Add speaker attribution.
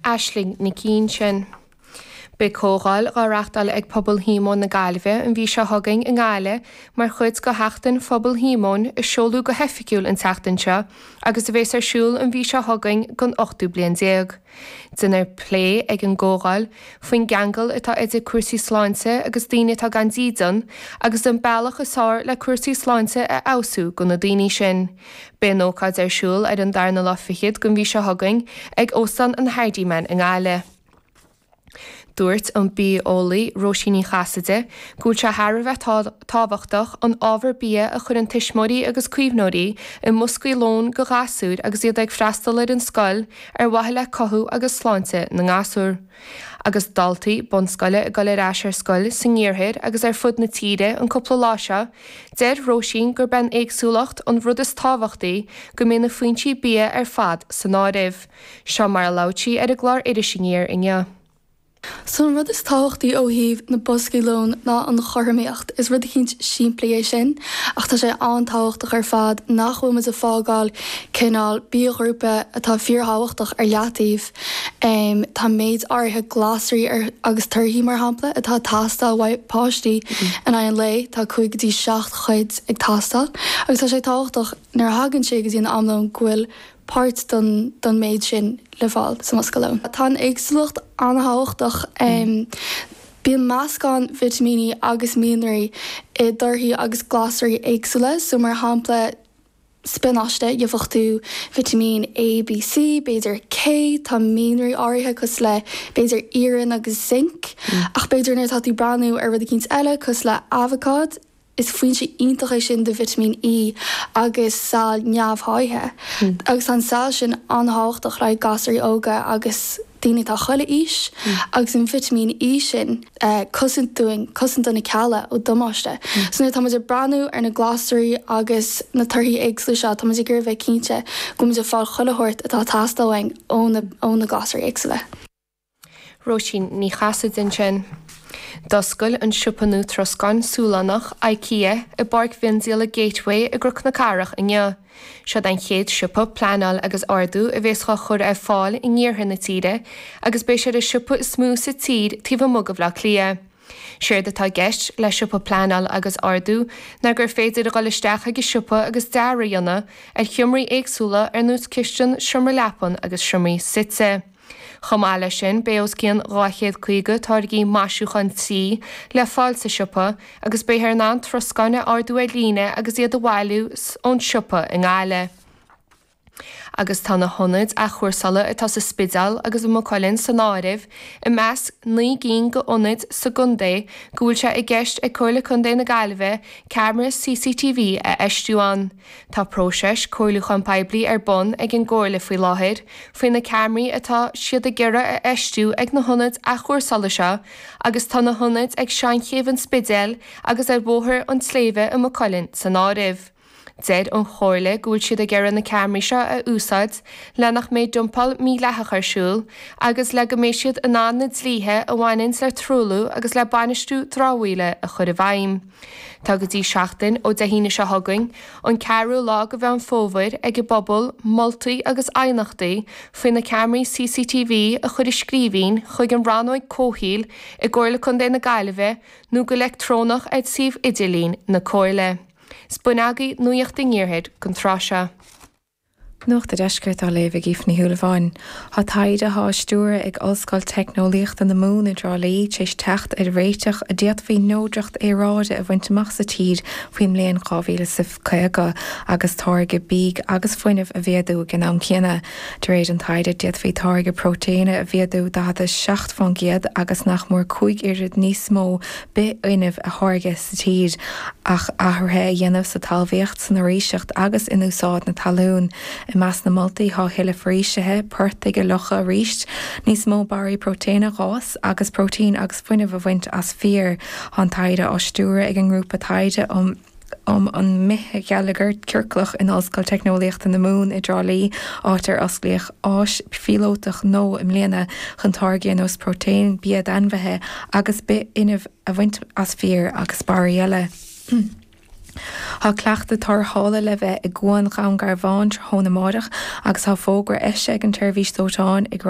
Speaker 1: Aisling Nic Uinseann. Beidh comhdháil dhá reachtáil ag Pobal Shíomóin na Gaillimhe an mhí seo chugainn i nGaillimh mar chuid de Sheachtain Phobal Shíomóin a seoladh go hoifigiúil an tseachtain seo agus a bhéas ar siúl an mhí seo chugainn don ochtú bliain déag. Déanfar plé ag an gcomhdháil faoin gceangal atá idir cúrsaí sláinte agus daoine atá gan dídean agus an bealach is fearr le cúrsaí sláinte a fheabhsú do na daoine sin. Beidh an ócáid ar siúl ar an darna lá fichead den mhí seo chugainn ag Óstán an Hardiman i nGaillimh. Dúirt an bia-eolaí Róisín Ní Chasaide go bhfuil sé thar a bheith tábhachtach an ábhar bia a chuireann tuismitheoirí agus caomhnóirí i mboscaí lóin do ghasúir agus iad ag freastal ar an scoil ar mhaithe le cothú agus sláinte na ngasúr. Agus daltaí bunscoile ag dul ar ais ar scoil san iarthar agus ar fud na tíre an cúpla lá seo, deir Róisín gurb é an éagsúlacht an rud is tábhachtaí, go mbeidh na foinsí bia ar fad san áireamh. Seo mar a labhair sí ar an gclár Iris Aniar inniu.
Speaker 2: So an rud is tábhachtaí ó thaobh na boscaí lóin ná an chothromaíocht. Is rud eicínt simplí é sin ach tá sé an-tábhachtach ar fad nach bhfuil muid ag fágáil cineál biaghrúpa atá fíorthábhachtach ar leataobh. Tá méid áirithe glasraí agus torthaí mar shampla atá ag teastáil uaidh páistí in aghaidh an lae, tá 5 go dtí 7 chuid ag teastáil agus tá sé tábhachtach nuair a thagann sé go dtí an am lóin go bhfuil páirt den den méid sin le fáil sa mbosca lóin. Tá an éagsúlacht an-thábhachtach. Bíonn meascán vitimíní agus mianraí i dtorthaí agus glasraí éagsúla, so mar shampla spionáiste, gheobhaidh tú vitimín A, B, C, b'fhéidir K, tá mianraí áirithe cosúil le b'fhéidir iarann agus zinc, ach b'fhéidir nuair atá tú ag breathnú ar rud eicínt eile cosúil le abhacád, Is foinse iontach é sin de vitimín E agus saill neamhsháithe, agus tá an saill sin an-thábhachtach le haghaidh gasúirí óga agus daoine atá chuile aois, agus an vitimín E sin, cosaint dúinn, cosaint do na cealla ó damáiste. So nuair atá muid ag breathnú ar na glasraí agus na torthaí éagsúla seo, tá muid ag iarraidh bheith cinnte go bhfuil muid ag fáil chuile shórt atá ag teastáil uainn ó na glasraí éagsúla.
Speaker 1: Róisín Ní Chasaide ansin. D'oscail an siopa nua troscáin Sualannach, IKEA, i bPáirc Mhiondíola Gateway i gCnoc na Cathrach inniu. Seod an chéad siopa pleanáil agus ordú a bhéas á chur ar fáil in iarthar na tíre agus beidh sé ar an siopa is mó sa tír taobh amuigh de Bhaile Átha Cliath. Séard atá i gceist le siopa pleanáil agus ordú ná gur féidir a dhul isteach ag an siopa agus dearadh a dhéanamh ar sheomraí éagsúla ar nós cistin, seomra leapan agus seomraí suite. Chomh maith leis sin, beidh os cionn 250 táirgí maisiúcháin tí le fáil sa siopa agus beifear in ann troscáin a ordú ar líne agus iad a bhailiú ón siopa i nGaillimh. Agus tá na hionaid athchúrsála atá sa Spidéal agus i Maigh Cuilinn san áireamh i measc 9 gcinn d'ionaid sa gcontae go bhfuil sé i gceist ag Comhairle Contae na Gaillimhe ceamara CCTV a fheistiú ann. Tá próiseas comhairliúcháin poiblí ar bun ag an gComhairle faoi láthair faoi na ceamaraí atá siad ag iarraidh a fheistiú ag na hionaid athchúrsála seo agus tá na hionaid ag Seanchéibh an Spidéil agus ar Bhóthar an tSléibhe i Maigh Cuilinn san áireamh. Deir an Chomhairle go bhfuil siad ag iarraidh na ceamaraí seo a úsáid le nach mbeidh dumpáil mhídhleathach ar siúl agus le go mbeidh siad in ann na dlíthe a bhaineanns le truailliú agus le bainistiú dramhaíola a chur i bhfeidhm. Tá go dtí seachtain ó Dé hAoine seo chugainn, an ceathrú lá de Mheán Fómhair, ag an bpobal moltaí agus aighneachtaí faoi na ceamaraí CCTV a chur i scríbhinn chuig an Rannóig Comhshaoil i gComhairle Contae na Gaillimhe nó go leictreonach ar suíomh idirlín na Comhairle. 'S b'in agaibh Nuacht an Iarthair don tráth seo.
Speaker 3: Nuacht an Deiscirt á léamh ag Aoife Ní Shúilleabháin. Tá taighde atá á stiúradh ag Ollscoil Teicneolaíochta na Mumhan i dTrá Lí tar éis teacht ar réiteach a d'fhéadfaí neodracht aeráide a bhaint amach sa tír faoin mbliain 2050 agus táirgeadh bídh agus fuinnimh a mhéadú ag an am céanna. De réir an taighde, d'fhéadfaí táirgeadh próitéine a mhéadú 47% agus nach mór 5 oiread níos mó bithfhuinnimh a tháirgeadh sa tír ach athruithe a dhéanamh sa talmhaíocht, san fhoraoiseacht agus in úsáid na talún. I measc na moltaí tá a thuilleadh foraoisithe, portaigh a fhliuchadh arís, níos mó barraí próitéine a dh'fhás agus próitéin agus fuinneamh a bhaint as féar. Tá an taighde á stiúradh ag an nGrúpa Taighde um um an mBithgheilleagar Ciorclach in Ollscoil Teicneolaíochta na Mumhan i dTrá Lí, áit ar osclaíodh áis phíolótach nua i mbliana chun táirgí ar nós próitéin, bia d'ainmhithe agus bithfhuinneamh a bhaint as féar agus barraí eile. Tá cleachtadh tarrthála le bheith i gCuan Dhún Garbhán tráthnóna amáireach agus tá fógra eisithe ag an tSeirbhís Dóiteáin ag rá.